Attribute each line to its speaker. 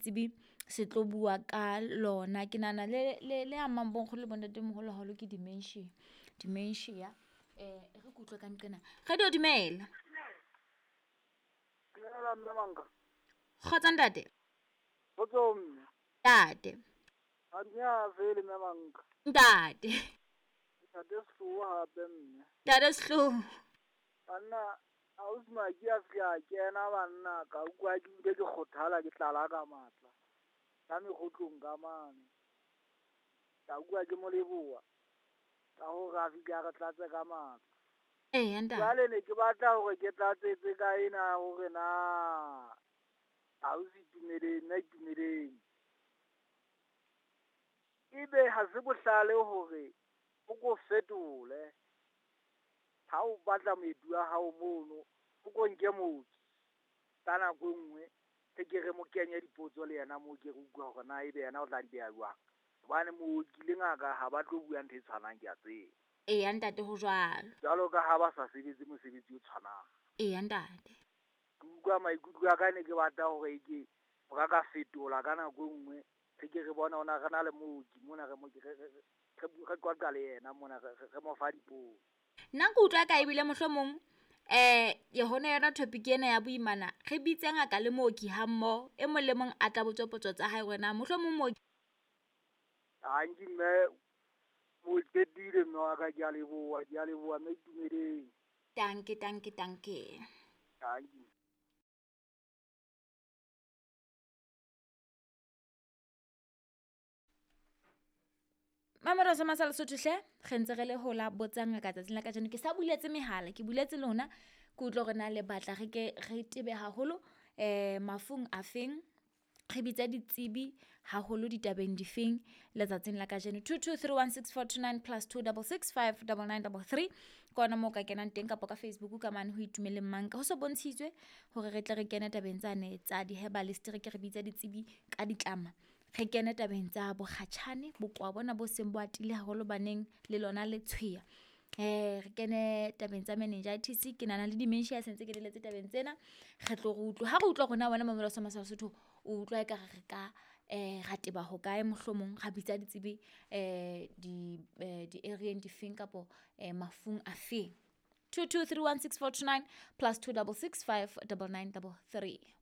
Speaker 1: setsebi se tlo bua ka lona. Ke nahana le le le amang bonkgono le bontatemoholo haholo ke dementia. Dementia e re ke utlwe ka nqena. Radio dumela.
Speaker 2: Dumela mme Manka.
Speaker 1: Kgotso ntate.
Speaker 2: Kgotso mme.
Speaker 1: Ntate.
Speaker 2: A fele mme Manka.
Speaker 1: Ntate.
Speaker 2: Ntate Sehloho hape mme.
Speaker 1: Ntate Sehloho.
Speaker 2: Banna ausi Maki a fihla a kena banna ka utlwa ke bile ke kgothala ke tlala ka matla. Ka mekgotlong ka mane. Ka utlwa ke mo leboha ka hore a fihle a re tlatse ka matla.
Speaker 1: Eya ntate.
Speaker 2: Jwale ne ke batla hore ke tlatsetse ka ena hore na ausi Itumeleng, nna Itumeleng. Ebe ha se bohlale hore o ko fetole ha o batla moeti wa hao mono, o ko nke mooki ka nako e nngwe re ke re mo kenye dipotso le yena moo ke re utlwa hore na ebe yena o tla di beha jwang. Hobane mooki le ngaka ha ba tlo bua ntho e tshwanang ke a tseba.
Speaker 1: Eya ntate ho jwalo.
Speaker 2: Jwalo ka ha ba sa sebetse mosebetsi o tshwanang.
Speaker 1: Eya ntate.
Speaker 2: Ke utlwa maikutlo a ka ne ke batla hore ke o ka ka fetola ka nako e nngwe re ke re bona ona re na le mooki mona re mo re qoqa le yena mona re mo fa dipotso.
Speaker 1: Nna ke utlwa ka ebile mohlomong yona yona topic ena ya boimana re bitse ngaka le mooki ha mmoho, e mong le mong a tla botswe potso tsa hae hore na mohlomong mooki.
Speaker 2: Tanki mme o qetile mme wa ka ke a leboha, ke a leboha mme Itumeleng.
Speaker 1: Tanki tanki tanki.
Speaker 2: Tanki.
Speaker 1: Mamelo sa masa Lesotho hle, re ntse re le hola botsang ngaka tsatsing la kajeno. Ke sa buletse mehala, ke buletse lona ke utlwe hore na le batla re ke re tebe haholo mafung a feng, re bitsa ditsebi haholo ditabeng difeng letsatsing la kajeno. 22316429 plus 2665 9933 ke ona moo ka kenang teng kapa ka Facebook ka mane ho Itumeleng Manka. Ho so bontshitswe hore re tle re kene tabeng tsane tsa di-herbalist, re ke re bitsa ditsebi ka ditlama. Re kene tabeng tsa bokgatjhane, bokowa bona bo seng bo atile haholo baneng le lona letshweya. Re kene tabeng tsa meningitis, ke nahana le dementia se ntse ke leletse tabeng tsena. Re tlo re utlwe ha re utlwa rona wena mamelo sa masa Lesotho o utlwa ekare re ka ra teba hokae mohlomong ra bitsa ditsebi di-area-eng difeng kapo mafung a feng. 22316429 plus 2665 9933.